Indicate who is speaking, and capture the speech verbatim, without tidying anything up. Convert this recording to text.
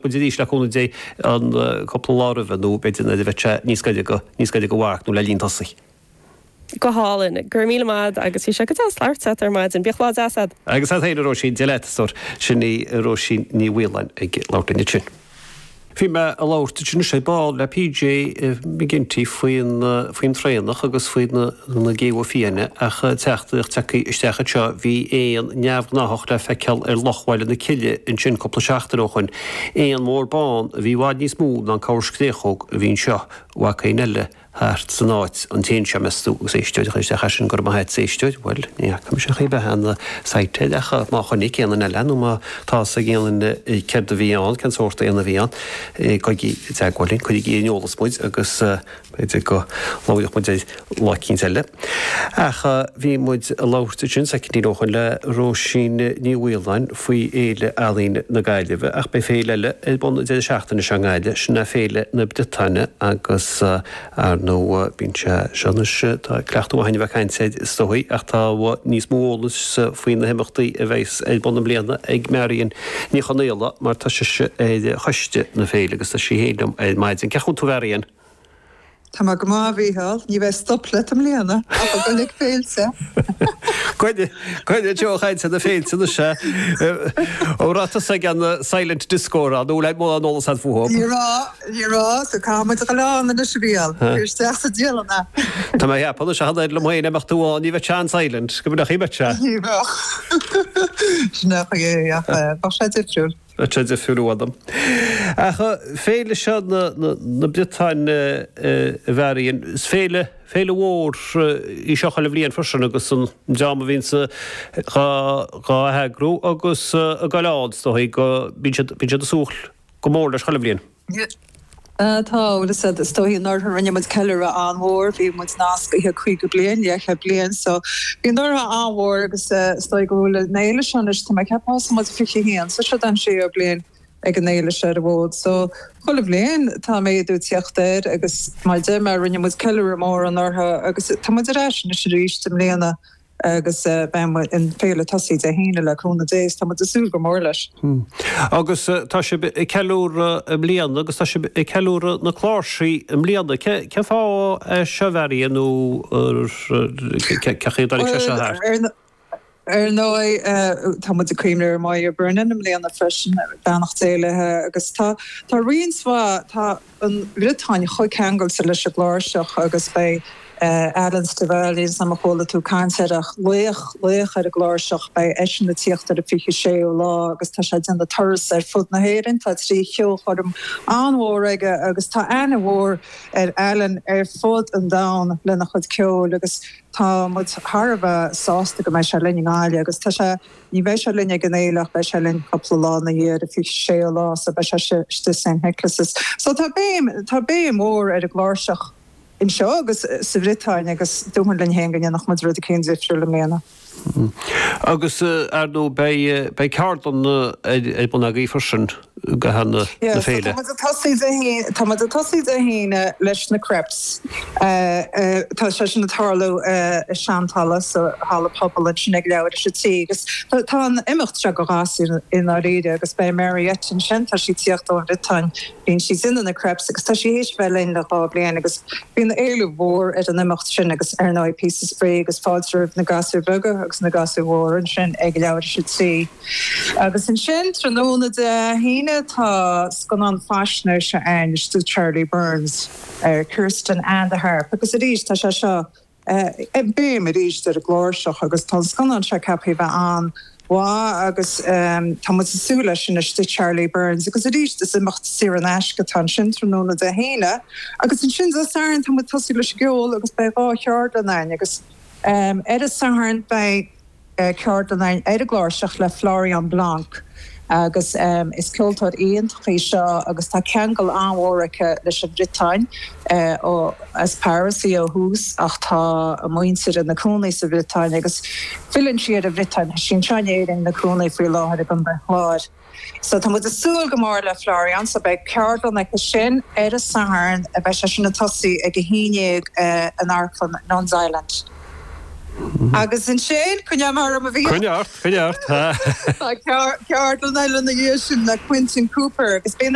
Speaker 1: muid arís le cúnamh Dé an cúpla lá roimhe nó b'fhéidir nuair a bheidh sé níos gaire go níos gaire go mharc nó le linn tosaigh.
Speaker 2: Go hálainn, go raibh míle maith agus bhí sé go deas labhairt leat ar maidin, bíodh lá deas agat.
Speaker 1: Agus agat féin a Róisín, Dia leat a stór, sin í Róisín Ní Mhaoláin ag labhairt linn ansin. Bhí mé ag labhairt ansin anois ar ball le PJ McGinty faoin faoin traonach agus faoi na na géabha fiáine ach teachtaireacht tagtha isteach anseo bhí éan neamhghnáthach le feiceáil ar Loch Bhaile na Cille ansin cúpla seachtain ó shoin. Éan mór bán a bhí i bhfad níos mó ná an corr scréachóg a bhí anseo. Bhfaca éinne eile thart san áit an t-éan seo, meas tú, agus éisteoir a chuir isteach é sin, go raibh maith a't, a éisteoir, bhuel, ní fhaca mise ach é bheith ana sighted ach má chonaic aon duine eile nó má tá fhios ag aon duine céard a bhí ann, cén sórt éan a bhí ann, gabhaigí i dteagmháil linn, cuirigí ar an eolas muid agus b'fhéidir go labhróidh muid air lá eicínt eile. Ach bhí muid ag labhairt ansin soicindín ó shoin le Róisín Ní Mhaoláin faoi Fhéile Ealaíne na Gaillimhe ach beidh féile eile ar bun an deireadh seachtaine seo i nGaillimh, sin é Féile na Briotáine agus ar ndóigh bíonn sé seo anois, tá cleachtadh maith againn a bheith ag caint air is dóigh ach tá níos mó eolais faoi na himeachtaí a bheas ar bun i mbliana ag Marion Ní Chonaola mar tá sise ar choiste na féile agus tá sí féin liom ar maidin. Cén chaoi a bhfuil tú a Mharion?
Speaker 3: Tá mé go maith, a Mhícheáil. Ní bheidh stop leat i mbliana ach ag dul ag féilte.
Speaker 1: Coinnigh Joe chaint ar na féilte anois é. An raibh tusa ag an silent disco a nó le mórán eolas agat fúthu?
Speaker 3: Ní raibh, ní raibh, so caithfidh muid a dhul ann anois a Mhícheáil. Cuir isteach sa dialann é.
Speaker 1: Tá mé ag ceapadh anois a tháinig liom féin imeacht tú ann, ní bheadh sé an-silent, go mbeadh, bheadh sé.
Speaker 3: Ní bheadh. Sin é é ach bheadh sé difriúil.
Speaker 1: Bheadh sé difriúil uaim. Ach féile seo na Briotáine a Mharion, is féile, féile mhór í seo chuile bhliain freisin agus an dream a bhíonns dhá dhá heagrú agus ag goil ann is dóigh go bíonn siad, bíonn siad ag súil go mór leis chuile bhliain.
Speaker 3: Tá, bhuel is is dóigh anuraidh rinne muid ceiliúradh an-mhór, bhí muid nascaithe caoga bliain, leathchéad bliain, so bhí anuraidh an-mhór agus is dóigh go bhfuil an fhéile seo anois, tá mé ag ceapadh thosaigh muid fiche haon, so seo an séú bliain ag an fhéile seo ar an bhfód. So chuile bhliain tá méadú ag teacht air agus mar a deir mé rinne muid ceiliúradh mór anuraidh agus tá muid ar ais anois arís i mbliana. Agus beidh an féile ag tosaí Dé hAoine le cúnamh Dé is tá muid ag súil go mór leis.
Speaker 1: Agus tá sibh ag ceiliúradh i mbliana agus tá sibh ag ceiliúradh na cláirsí i mbliana. Cén fáth é seo a Mharion nó cén chaoi a dtáinig sé seo thart?
Speaker 3: Ar ndóigh tá muid ag cuimhneamh ar Moya Brennan i mbliana freisin, beannacht Dé léi, agus tá roinnt mhaith, tá an Bhriotáin chomh ceangailte leis an gcláirseach agus beidh Alan Stivell, níl 's a'm ar chuala tú caint air ach laoch, laoch ar an gcláirseach, beidh eisean ag tíocht ar an fiche séú lá agus tá sé ag déanamh turas ar fud na hÉireann, tá trí cheolchoirm an-mhór aige agus tá aithne mhór ar Alan ar fud an domhain lena chuid ceoil agus tá muid thar a bheith sásta go mbeidh sé linn i nGaillimh agus tá sé, ní bheidh sé linn ag an fhéile ach beidh sé linn cúpla lá ina dhiaidh ar an fiche séú lá so beidh sé istigh St Nicholas's. So tá béim, tá béim mhór ar an gcláirseach anseo agus sa Bhriotáin agus dúirt linn féin go ndéanfadh muid rud eicínt difriúil i mbliana.
Speaker 1: Agus ar ndóigh beidh, beidh ceardlann ar bun agaibh freisin go na
Speaker 3: Yeah, so
Speaker 1: féile.
Speaker 3: tá muid ag tosaí Dé hAoine, tá muid ag tosaí Dé hAoine leis na crêpes. Tá sé sin ag tarlú i Seanhalla, sa halla pobail ansin ag leathuair tar éis a trí agus tá an imeacht seo do ghasúir i ndáiríre agus beidh Mariette ansin, tá sí ag tíocht ón Bhriotáin, bíonn sí ag déanamh na crêpes agus tá sí théis bheith linn le dhá bhliain agus bíonn éileamh mhór ar an imeacht sin agus ar ndóigh píosa spraoi agus fáilte roimh na gasúir bheaga agus na gasúir mhóra ansin ag leathuair tar éis a trí. Agus ansin tráthnóna Dé hAoine tá scannán faisnéise ann istigh Charlie Byrne ar Kirsten and the Harp agus arís tá sé seo béim arís ar an gcláirseach agus tá an scannán seo ceaptha a bheith an-mhaith agus tá muid ag súil leis sin istigh Charlie Byrne agus arís is imeacht saor in aisce atá ansin tráthnóna Dé hAoine agus ansin Dé Sathairn tá muid ag tosaí leis an gceol agus beidh dhá cheardlann ann agus ar an Satharn beidh ceardlann ann ar an gcláirseach le Florian Blanc agus is ceoltóir iontach í seo agus tá ceangal an-mhór aici leis an Bhriotáin ó as Paris í ó thús ach tá a muintir ina cónaí sa Bhriotáin agus filleann sí ar an Bhriotáin, tá sí anseo in Éirinn ina cónaí faoi láthair i gContae an Chláir. So tá muid ag súil go mór le Florian so beidh ceardlann aici sin ar an Satharn, beidh sé sin ag tosaí ag a haon déag in Amharclann Nuns Island. Agus ansin coinneoidh mé orm a bhí
Speaker 1: Coinnigh ort, coinnigh ort.
Speaker 3: Ceardlann eile ina dhiaidh sin le Quinton Cooper agus bíonn